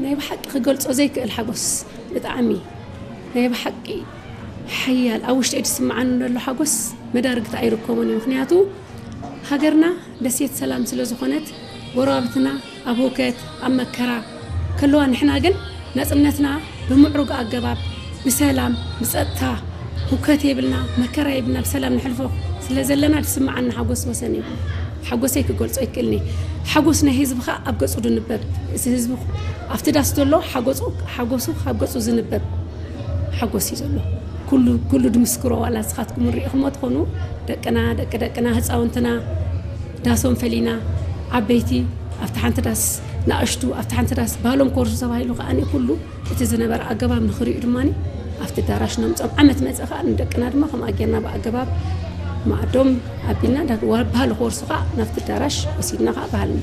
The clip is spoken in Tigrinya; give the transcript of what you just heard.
ናይ ብሓቂ ክገልጾ ዘይክእል ሓጎስ፣ ብጣዕሚ ናይ ብሓቂ ሓያል፣ ኣብ ውሽጠይ ዝስምዓኒ ዘሎ ሓጎስ መዳርግቲ ኣይርከቦን እዩ። ምክንያቱ ሃገርና ደሴት ሰላም ስለ ዝኾነት፣ ጎረባብትና ኣብ ሁከት ኣብ መከራ ከለዋ፣ ንሕና ግን ናጽነትና ብምዕሩግ ኣገባብ ብሰላም ብጸጥታ ሁከት የብልና፣ መከራ የብልና፣ ብሰላም ንሕልፎ ስለ ዘለና ዝስምዓኒ ሓጎስ ወሰን እዩ። ሓጎሰይ ክገልጾ ይክእልኒ። ሓጎስ ናይ ህዝቢ ከኣ ኣብ ገጹ ድንበብ። እዚ ህዝቢ ኣብቲ ዳስ ዘሎ ሓጎሱ፣ ሓጎሱ ካብ ገጹ ዝንበብ ሓጎስ እዩ ዘሎ። ኩሉ፣ ኩሉ ድምስክሮ፣ ዋላ ንስኻትኩም ርኢኹሞ ትኾኑ፣ ደቅና፣ ደቂ ደቅና፣ ህፃውንትና፣ ዳሶም ፈሊና፣ ዓበይቲ ኣብቲ ሓንቲ ዳስ፣ ንኣሽቱ ኣብቲ ሓንቲ ዳስ፣ ባህሎም ኮርሱ ተባሂሉ ከኣ ኩሉ እቲ ዝነበረ ኣገባብ ንኽሪኡ ድማ ኣብቲ ኣዳራሽ ነምጾም። ዓመት መጸ ከኣ ንደቅና ድማ ከምኣ ጌርና ብኣገባብ መኣዶም ኣቢልና፣ ዳ-፣ ዋ-፣ ባህሊ ክወርሱ ከኣ ናብቲ ኣዳራሽ ወሲድና ከኣ ባህልና